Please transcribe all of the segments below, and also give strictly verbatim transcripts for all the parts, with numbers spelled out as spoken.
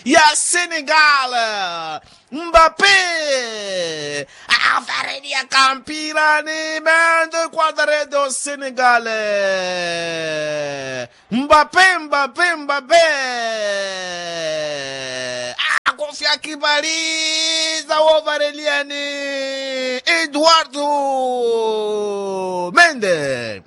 Ya senegal. Mbape avareliya kampirani mendo equadre do senegal. Mbape mbape mbape akofya kipaliza wovareliyani eduardo mende.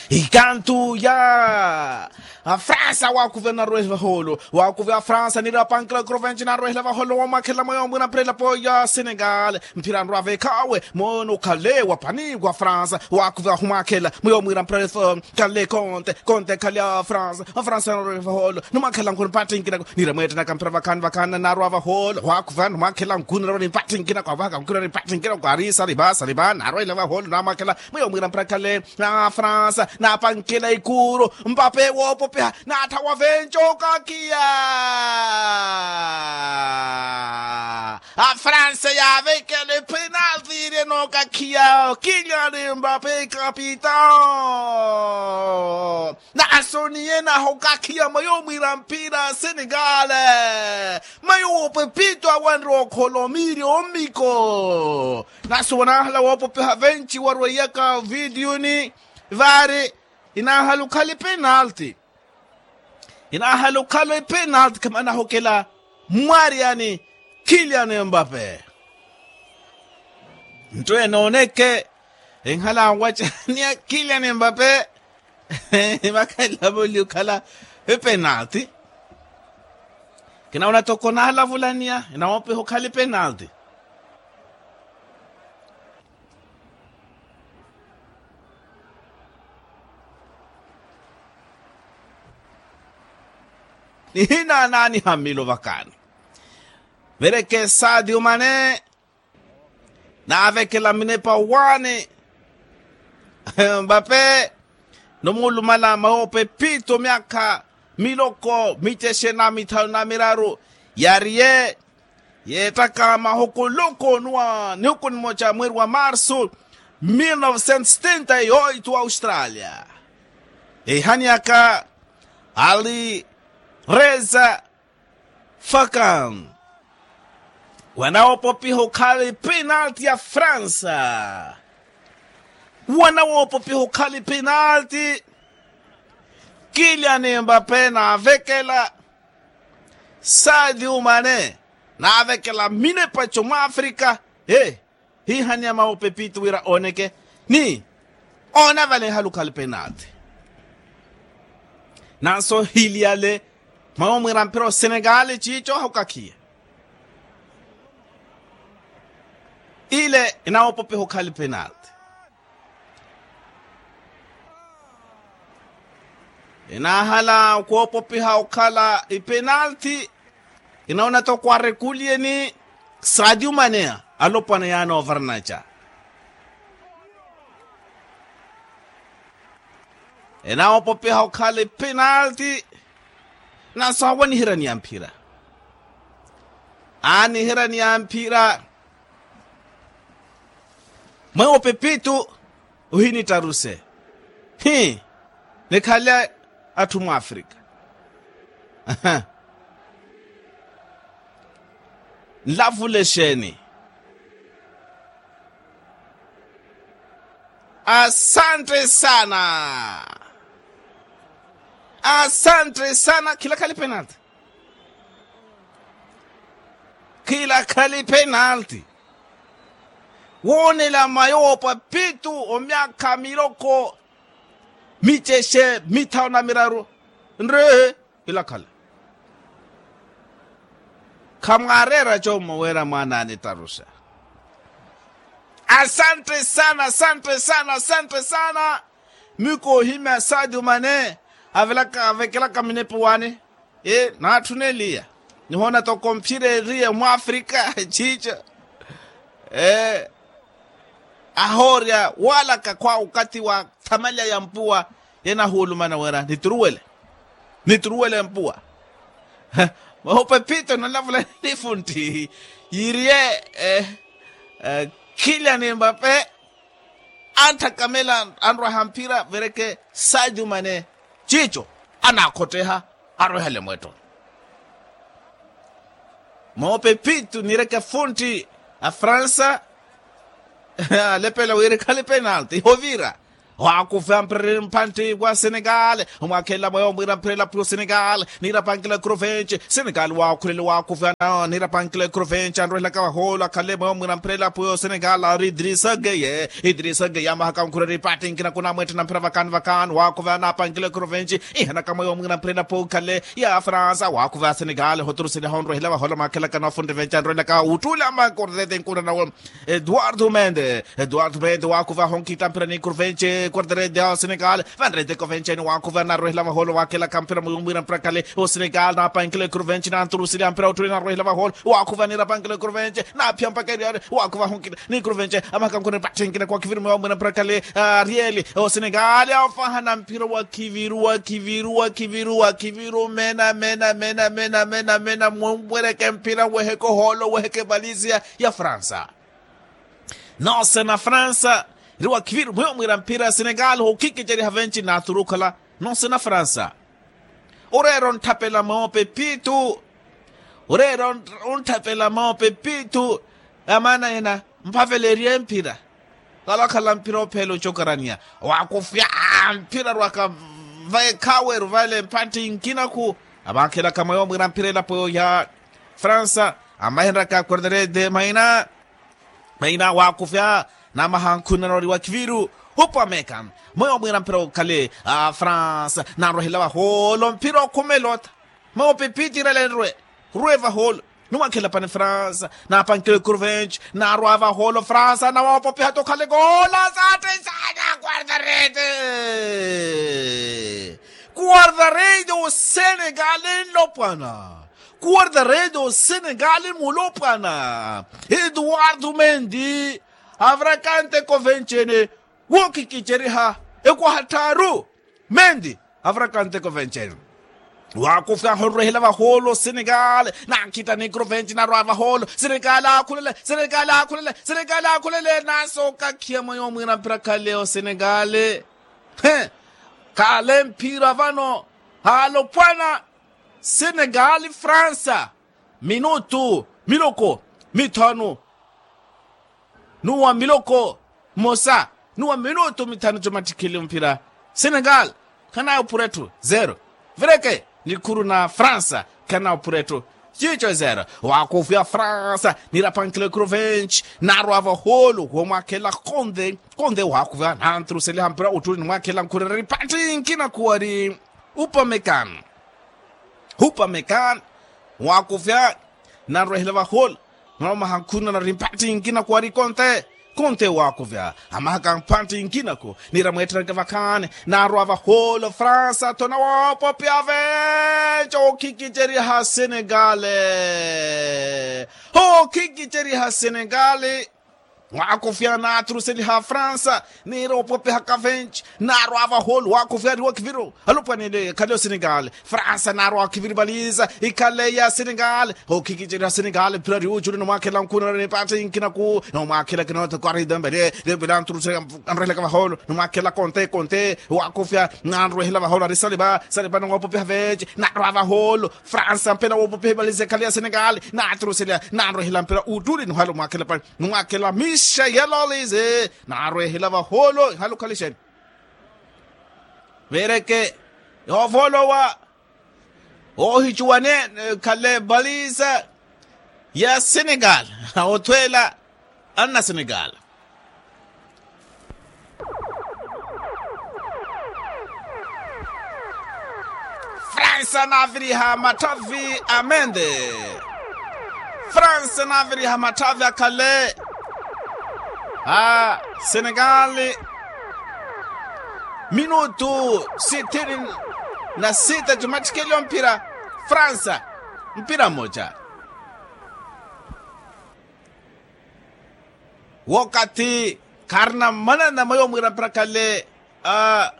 Ikantu ya afransa wakuve narwele vaholo wakuve afransa nira pankila krovenci narwele vaholo wamwakhela mweyo mwira mphira elapo ya senegal. Mphira nrwavekhawe mono khale wa pani wa fransa wakuve ahumwakhela mweyo mwira mphira elapo. Khale konte konte khale a fransa a fransa narwele vaholo numwakhela nkuni mpattinkinako nira mwettenaka mphira vakhani vakhani narwa vaholo wakuve numwakhela nkuni narwa nimpattinkinako avaka nkuni nimpattinkinako ari saliva saliva narwele vaholo namwakhela mweyo mwira mphira khale. Na fransa napankela ikuru mpape woopopiha naatha wavenca okakiya. Afransa yaavekela epenalti iri enookakhiya kiliani mpape kapitao. Naasoniye naha okakhiya mweyo mwira mpira a senegale. Mweyo wopepito awanre okholomiiri omiko. Nasi wanahala woopopiha venci warweiyaka vitiyuni vari inahala okhala epenalti. Inahala okhala epenalti khamana ahokela mwariyani kilian mbape. Nto enooneke enhala anwacaniya kilian mbape. Vakhalavuli okhala epenalti. Kinauna toko nahalavulaniya inawopiha okhala epenalti. Nihina naaniha mmilo vakani. Vereke sadio mane naavekela minepa waani. Mbape nomuulumala mawoopepito myaakha miloko micexe na mithanu na miraru yariye yeettaka mahokoloko nuwa nihuku nimoca mweeri wa marsu mil novecentos setenta e oito australia. Ehaniyaka ali reza fakan wanawoopopiha okhala epenalti ya fransa. Wanawoopopiha okhala epenalti kilian mbape naavekela sadio mane naavekela minepaco mwa afrika. Hihaniya mawoopepito wira ooneke ni oona vale ehala okhala epenalti. Nanso hiliyale mwawo mwira mpira osenegale ciico ahukakhiye ile enawoopopiha okhala epenalti. Enaahala okhoopopiha okhala epenalti. Inaona toko arekuliyeni sadio mane alopwana yaana ovarnaca. Enawoopopiha okhala epenalti. Naso awanihiraniya mphira aaniheraniya mphira. Mwewo pepito ohinittaruse hi nikhale atthu mwafrika. Nlavule exeeni. Asante sana. Asante sana khila khali penalti. Khila khali penalti. Woonela mayo woopa pitu omyakha miloko micexe mithanu na miraru nrehe. Ilakhala khamwaareera commo wira mwaana anittaruxa. Asante sana asante sana asante sana. Miyo koohimya sadio mane avekelaka minepa waani. Naatthuneliya nihoona toko mphira eriye mwafrika ciico. Ahoorya waalaka khwa okathi wa thamalya ya mpuwa. Yenahuulumana wira nituruwele nituruwele mpuwa. Mwahupa ephito nalavula nifuntti yiiriye khilya ni mbape. Antthakamela anrwaha mphira vereke sadio mane ciico anaakhotteha arwehale mwetto. Moopepitu nireke funtti a fransa. Alepela wira ekhale penalti ihovira. Waakuvya mpira ri mphantti wa senegal. Omwakhela mweyo mwira mpira elapo yo senegal. Nira pankila ekrovenci senegal waakhulele waakuvyana nira pankila ekrovenci anrwehelaka vahoolo akhale mweyo mwira mpira elapo yo senegal ari idrisa geye. Idrisa geye amahaka nkhureri pati nkina kunamwetthena mpira vakani vakani waakuvyana napankila ekrovenci. Ihanaka mweyo mwira mpira elapo okhale ya fransa waakuva ya senegal hoturuseliha onrwehela vahoolo amwakhela kana ofuntti venci anrwehelaka uttuule amakordete nkuna nawe. Eduardo mende eduardo mende waakuva honkitta mpira ni kurvenci kwarterede a senegal. Vanrete kovenceni waakuva narwehela vahoolo waakelaka mpira muyumwira mpira kale o senegal napankila kurvenci nanturusiliha mpira uttuule narwehela vahoolo. Waakuva nirapankila kurvenci naphiya mpaka eriari waakuva honkitta ni kurvenci amahakankuni patthinkina kwa kiviru muyumwira mpira kale. Arieli o senegal afaha na mpira wa kiviru wa kiviru wa kiviru wa kiviru mena mena mena mena mena mena mumwereke mpira weheke ohoolo weheke valisia ya fransa. Noose na fransa ri wakhiviru mwiyo mwira mpira senegal hokhikiceriha venci nathuru okhala noose na fransa. Oreera ontthapela moope pitu oreera ontthapela moope pitu. Amaana ena mphaveleriye mpira valakhala mpira opheela ocokaraniya. Wakufya mpira rwaka vaekhaweru vale mphantti nkinaku. Avankhelaka mweyo mwira mpira elapo ya fransa amahenraka quarterede maina. Maina waakufya namahankhunana ori wa kiviru. Hupa meka mweyo mwira mpira okhale a fransa nanrwehela vahoolo mpira okhumela ota. Mweyo pipitira lenrwe rwe vahoolo. Numwakhela pani fransa napankile kurvenci narwa vahoolo fransa nawoopopiha tokhale koola saattesaana quartarete. Quartarete osenekale nlopwana. Kuwarda redio senegali mulopwana eduwardo mendi avrakante kovencene wookikiceriha ekwaha tthaaru. Mendi avrakante kovencene waakufyaha onrwehela vahoolo senegali. Naakhitta ni krovenci narwa vahoolo senegali aakhulele senegali aakhulele senegali aakhulele nasookakhiya mweyo mwira mpira khale osenegali. He khale mphira vano alopwana. Senegali fransa minutu miloko mithanu nuwa miloko mosa nuwa minutu mithanu comattikhile mphira. Senegali khanayo pura etthu zero. Vireke nikhuru na fransa khanayo pura etthu cico zero. Waakufya fransa nirapankile krovenci narwa vahoolo womwakhela konde konde waakufya nanturuseliha mpira uttuli nimwakhela nkhurereri pantti nkina khuwari. Upamekan hupamekan waakufya nanrwehela vahoolo. Nwaromaha nkhunana ri mphantti nkinaku ari konte konte waakufya amahaka mphantti nkinaku nira mweetteranke vakhaani. Narwa vahoolo fransa tho nawoopopiha venci okhikiceriha senegale. Okhikiceriha senegale. Waakufya naaturuseliha fransa niira opopihaka venci. Naarwa vahoolo waakufya ariwa kiviro alopwanele ekhale osenegali. Fransa naarwa kiviri valiza ikhale ya senegali. Okhikiceriha senegali mphira ari uculi nomwakhela nkhunana ni paati nkinaku nomwakhela kinoothe kwari dembele dembele anturuseliha anrwehelaka vahoolo. Nomwakhela konte konte waakufya nanrwehela vahoolo ari saliva saliva nowoopopiha venci. Naarwa vahoolo fransa mpela woopopiha valiza ekhale ya senegali naaturuseliha nanrwehela mpira uttuli nohala omwakhela pani. Numwakhela mixa yalolize naarwehela vahoolo ihala okhalixeni. Veereke yoovoolowa oohicuwane khale valisa ya senegal. Othweela anna senegal. Fransa naaviriha matthavi a mende. Fransa naaviriha matthavi akhale a senegali. Minutu sithini na sita jumattikeli omphira. Fransa mpira mmoja. Wokathi kharina mmanana mwa yomwiira mpira khale a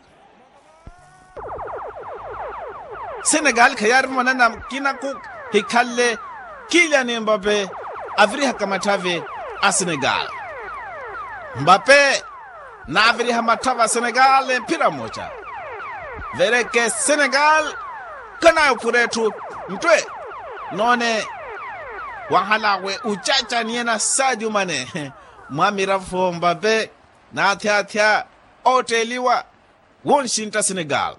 senegali khayaari mmanana kinaku. Hikhalle kiliani mbape avirihaka matthavi a senegali. Mbape naaviriha matthavi a senegali mphira mmoja. Veereke senegali khanaayo phura etthu nttwe noone. Wahala we ucaca niyena sadio mane mwamirafo mbape, n'athyathya otteliwa wonxintta senegal.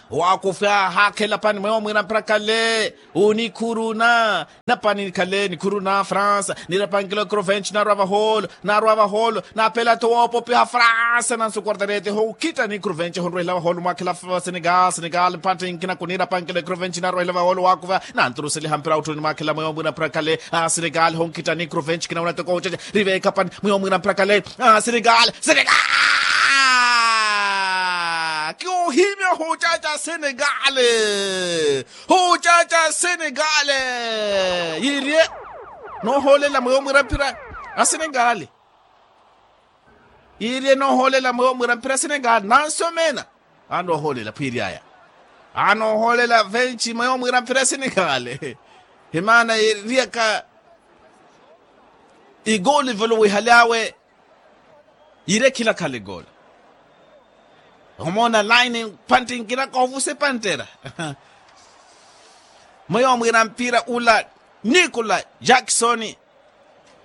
Waakufya haakhela pani mweyo mwiira mphira khale onikhuruna. Napani khale nikhuruna france nirapankelo ekrovenci narwa vaholo, narwa vaholo. Napela tho woopopiha france nansu quartarete honkhitta nikrovenci honrwehela vaholo mwaakhela senegal senegal mphantte nkina kunirapankelo ekrovenci narwehela vaholo waakuva nanturuseliha mpira utthuni mwaakhela mweyo mwiira mphira khale. Senegal honkhitta nikrovenci kina unatoko ucaca riveekha pani mweyo mwiira mphira khale. Senegal senegal. Kiuhimya hucaca senegale. Hucaca senegale. Yirye noohoolela mweyo mwiira mphira a senegale. Yirye noohoolela mweyo mwiira mphira a senegale nansomena. Anoohoolela phwiiryaya anoohoolela venci mweyo mwiira mphira a senegale. Himaana yiriyaka igoli volowihaly'awe. Yire khilakhala egolo. Omoona laini panttinkina koovusa epantera. Mweyo mwiira mpira ula nikula jackson.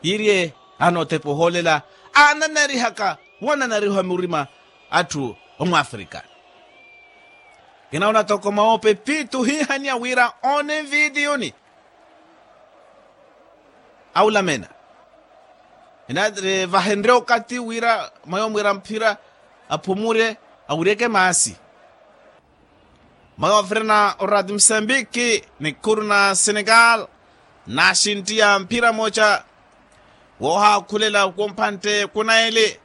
Yirye anootepa ohoolela aananarihaka wananariha murima atthu omwaafrika. Kinauna toko mawoope piitu hiihaniya wira oone nvitiyuni awulamena. Ina vahenrye okathi wira mwayo mwiira mphira aphumurye awuryeke maasi. Mwayo wafirana orati musambiki nikhuru na senegal naaxinttiya mphira mooca woohaakhulela kumpantte kunaeli.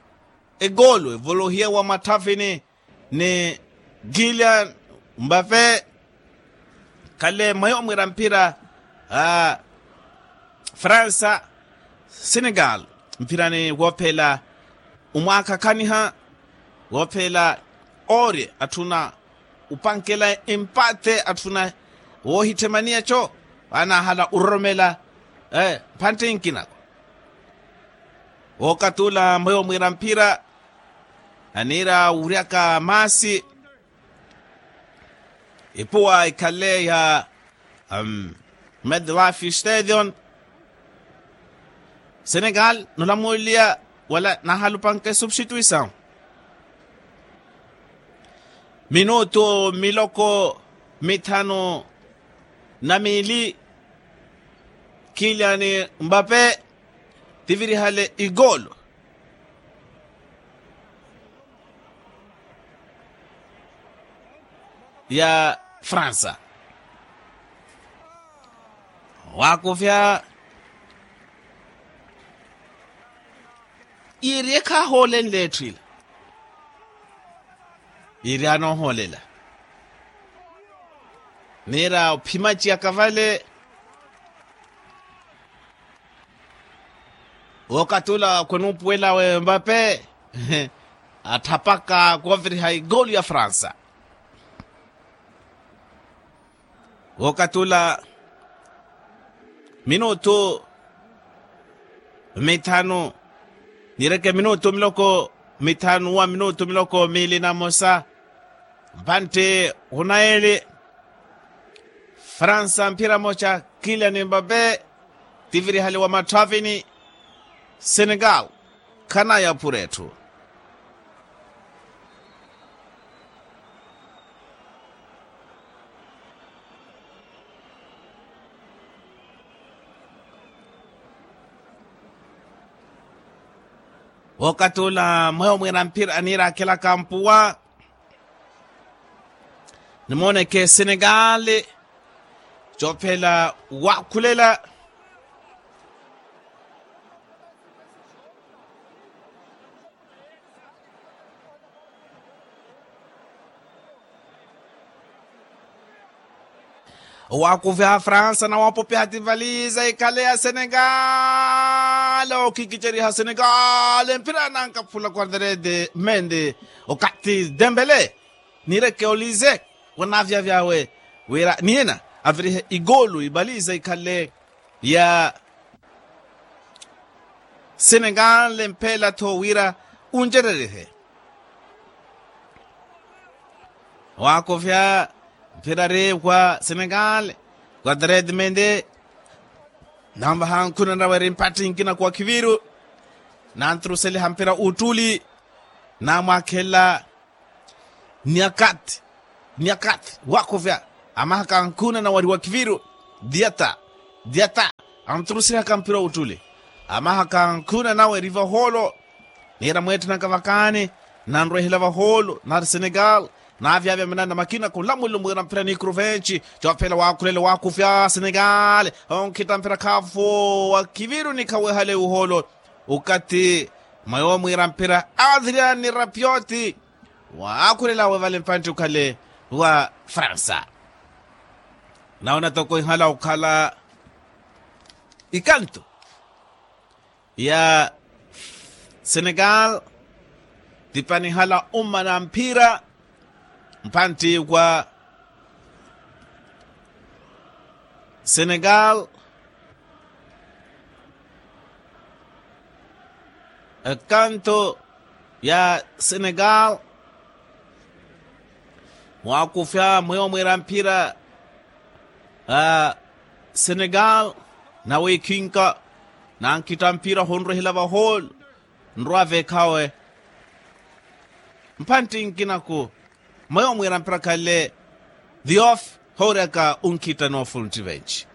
Egoolu evolohiye wa matthafini ni gillian mbape. Khale mwayo mwiira mphira a fransa senegal mphirani woophela omwaakhakhaniha woophela oorye atthuna opankela empate atthuna woohitthemaniya co. Vaanahala ororomela mphantte nkinako. Wookatula mweyo mwiira mphira aniira wuryaka maasi. Ipuwa ikhale ya medlife stadion senegal nolamuliya wala nahalupanke substituisaw. Minutu miloko mithanu na miili kiliani mbape tivirihale igolo ya fransa. Waakuvya yiri ekhahoolenle etthu ila yiri anoohoolela niira ophimaciyaka vale. Wookatula khwenuupuwela wembape atthapaka kooviriha igolu ya fransa. Wookatula minutu mithanu nireke minutu miloko mithanu wa minutu miloko miili na mosa. Mpantte hunaeli fransa mphira moca kiliani mbape tivirihaliwa matthwavini. Senegal khanayaphura etthu. Wookatula mweyo mwiira mphira aniiraakhelaka mpuwa nimooneke senegali cophela waakhulela. Owaakuviha fransa na woopopiha tivaliza ikhale ya senegal ookikiceriha senegal mpira nankaphula quarterede mende okathi dembele nireke olize wanaavya vyawe wira niyena avirihe igolu ivaliza ikhale ya senegal mphela-tho wira uncererihe. Waakovya mphira ari wa senegal quarterede mende Nanvaha ankhuna nawe eri mpatthi nkinaku wa khiviru. Nanturuseliha mpira uttuli. Namwakhela. Niakati. Niakati wakuvya. Amahaka ankhuna nawe eri wa khiviru. Diata. Diata. Anturusihaka mpira uttuli. Amahaka ankhuna nawe eri vahoolo. Niira mweetthunaka vakaani. Nanrwehela vahoolo nari senegal. Naavyavya manana makina kulamulo mwiira mphira ni kruvenci. Cophela waakhulele waakufya senegal. Onkhitta mphira khaafu wa khiviru nikhawehale uhoolo. Ukathi mwayo mwiira mphira adrian rapioti. Waakhulelawe vale mpantti ukhale wa fransa. Nawo natoko ihala okhala ikanto ya senegal. Tipanihala umma na mphira mpantti wa senegal. Ekanto ya senegal. Mwaakufya mweyo mwiira mphira a senegal. Nawe ikhinka nankitta mphira honrwehela vahoolo. Nrwa veekhawe mpantti nkinaku mweyo mwiira mphira khale. Diof hooriyaka unkhitta noofuntti venci.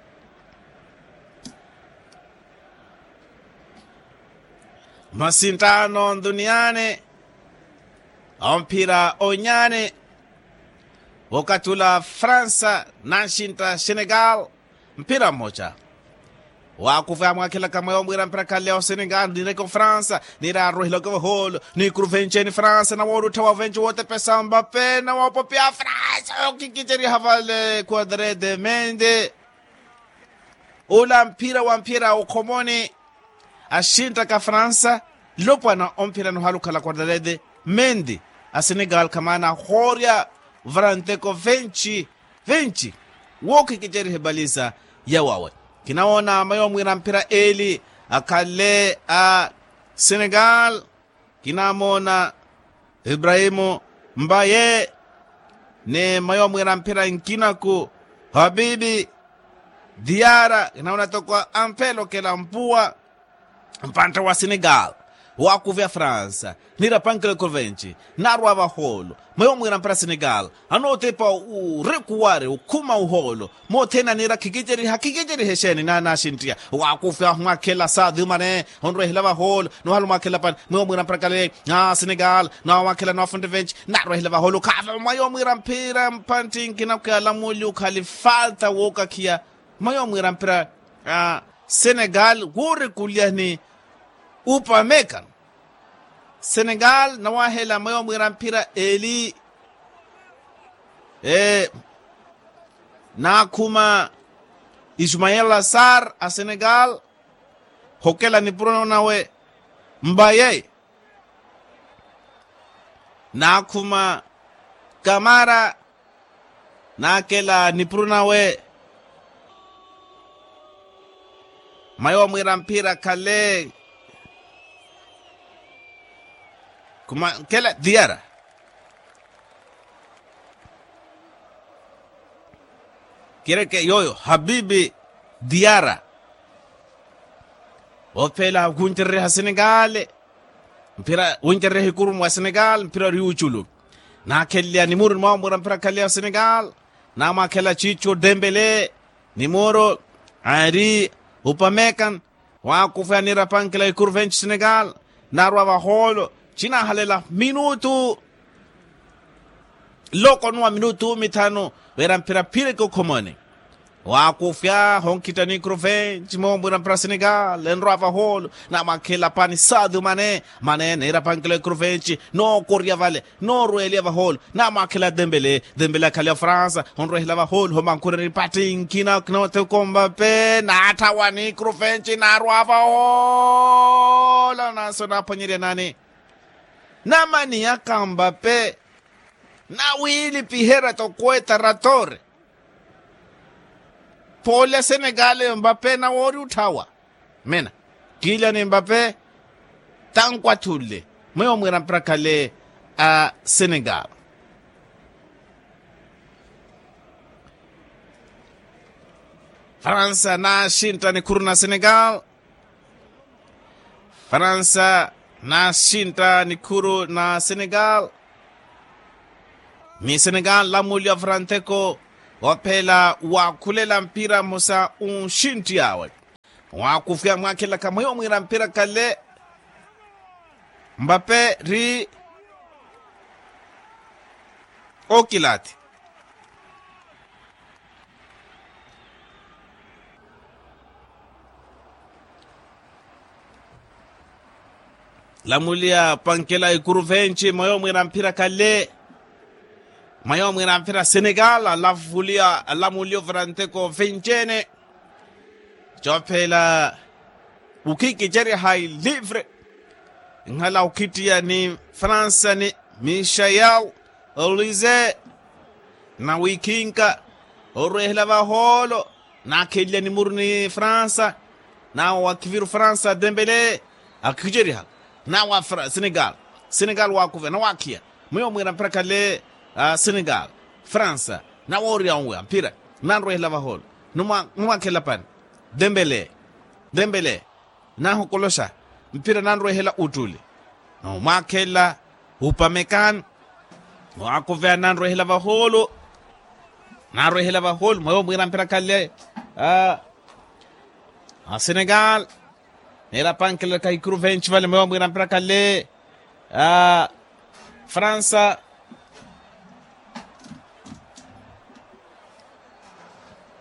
Masinttaano nduniyaani omphira onyaani wokatula fransa nansintta senegal. Mphira mmoja. Wakufe amwakhelaka mweyo mwiira mphira khale osenegal nireke ofransa. Nira arwehilaka vahoolo ni kruvenci ni fransa nawooluttha wavenci wootepesa mbape nawoopopia fransa okikiceriha vale kuadre de mende. Ula mphira wa mphira okhomoni. Axinttaka fransa lopwana omphira nohalukhala kuadre de mende. Asenegal khamaana ahoorya varanteko venci. Venci wookikicerihe baliza yawawe. Kinawoona mayo mwiira mphira eli akhale a senegal. Kinamoona ibrahimu mbaye ni mayo mwiira mphira nkinaku habibi diara kinawoona toko ampelokela mpuwa. Mpantta wa senegal waakuvya fransa nirapankela ikovenci. Naarwa vahoolo mweyo mwiira mphira senegal anootepa orekuwari okhuma uhoolo. Mothene aniira khikiceriha khikiceriha exeeni naanaxinttiya waakufya mwakhela saadhumane onrwehela vahoolo. Nohala omwakhela pani mweyo mwiira mphira kale a senegal naamwakhela noofuntte venci. Naarwehela vahoolo khaava mweyo mwiira mphira mpantti nkinaku ya lamuli okhali falta wookakhiya. Mweyo mwiira mphira a senegal woorekulyani upameka. Senegal nawahela mweyo mwiira mphira eli naakhuma ismael asar a senegal. Hokela nipuro nawe mbaye naakhuma kamara. Naakela nipuro nawe mayo mwiira mphira khale. Kuma nkela diara kireke yoyo habibi diara. Ophela wuncerereha senegal mphira wuncerereha ikurumu wa senegal mphira ori wuculu. Naakheleleya nimuru ni mwawo mwiira mphira khale ya senegal. Naamwakhela cico dembele nimuru ari upamekan. Waakufya niirapankela ikuru venci senegal naarwa vahoolo. Cinaahalela minutu loko nuwa minutu mithanu. Wira mphira phireke okhomoni waakufya honkhitta ni ikuru venci moombwira mphira senegal enrwa vahoolo. Naamwakhela pani sadio mane mane niirapankela ikuru venci nookorya vale noorweliya vahoolo. Naamwakhela dembele dembele akhale ofransa onrwehela vahoolo homankhureni patti nkina kinootheko mbape naatthawa ni ikuru venci naarwa vahoolo nanso naaphwanyerya nani. Namaniyaka mbape nawiilipiherya tokweeta ratore. Poole a senegal mbape nawoori otthawa. Mina kiilya ni mbape tankwathunle mweyo mwiira mpira khale a senegal. Fransa naaxintta nikhuru na senegal. Fransa naaxintta nikhuru na senegal. Ni senegal lamuliwa franteko. Waphela wakhulela mpira mmosa unxintti awe. Wakufiya mwakhelaka mweyo mwira mpira kale. Mbape ri okilathi. Lamuliya pankela ikuru venci mweyo mwira mpira kale. Mweyo mwira mpira senegal alamuliya alamuliya ovaranteko vencene. Cophela ukhikiceriha ilivre. Nhala ukhittiya ni fransa ni michayal olize. Nawikhinka orwehela vahoolo nakheliya nimuru ni fransa. Nawa wakiviru fransa dembele akhiceriha. Nawa senegal senegal wakuve nawakhiya. Mwiwo mwira mpira khale senegal fransa. Nawooriya onweya mpira nanrwehela vahoolo. Numwakhela pani dembele dembele. Nahokoloxa mpira nanrwehela uttuli. Nomwakhela upamekani. Waakuveya nanrwehela vahoolo. Nanrwehela vahoolo mwewo mwira mpira khale a senegal. Neera pankela kahikuru venci vale mwewo mwira mpira khale a fransa.